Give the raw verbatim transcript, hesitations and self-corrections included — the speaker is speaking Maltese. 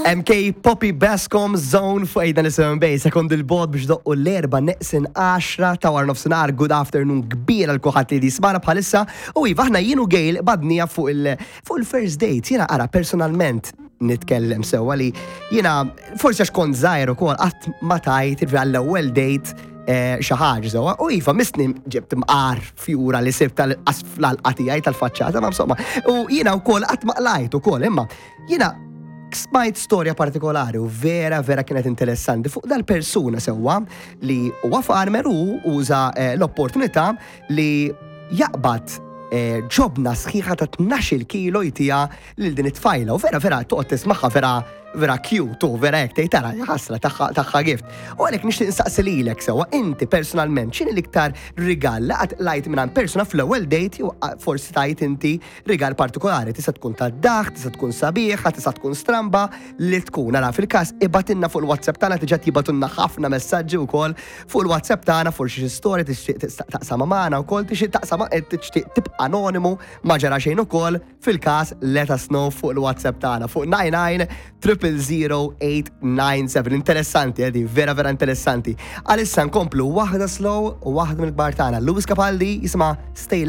M K Poppy Bascom Zone fuq Ejda Nisimgħu Bay, sekond il-bod biex doqqu l-erba neqsin għaxra ta' wara nofsinhar. Good afternoon kbira lil kulħadd li jismagħna bħalissa. U iva, aħna jien u Gail badnija fuq il- fuq il-first date. Jiena ara personalment nitkellem sewwa li jiena forsi għax kont żgħir ukoll qatt ma tajt għall-ewwel date eh, xi ħaġa sewwa. U iva, missni ġibt mqar fjura li sibt tal-għalqa tiegħi tal-faċċata, ma insomma. U jiena wkoll qatt ma qlajt ukoll, imma jiena smajt storja partikolari u vera vera kienet interessanti fuq dal-persuna sewwa li huwa farmer u uża eh, l-opportunità li jaqbad eh, ġobna sħiħa ta' tnax-il kilo jtiha lil din it-tfajla u vera vera toqgħod tismagħha, vera vera cute u vera hekk tgħid tara ħasra tagħha tagħha gift. U għalhekk nixtieq insaqsi lilek sewwa, inti personalment x'inhi l-iktar rigal li qatt qlajt minn persuna fl-ewwel date jew forsi tajt inti rigal partikolari, tista' tkun ta' daħk, tista' tkun sabiħa, tista' tkun stramba li tkun. Ara fil-każ ibgħatilna fuq il-WhatsApp tagħna, diġà jibagħtulna ħafna messaġġi wkoll fuq il-WhatsApp tagħna, forsi xi storja tixtieq taqsama magħna wkoll, tixtieq taqsama, tixtieq tibqa' anonimu, ma ġara xejn ukoll. Fil-każ let us know fuq il-WhatsApp tagħna fuq nine nine triple zero eight nine seven. Interessanti, edi, vera vera interessanti. Għalissa nkomplu waħda slow u waħda mill-kbar tagħna. Lewis Capaldi jisimha Stay.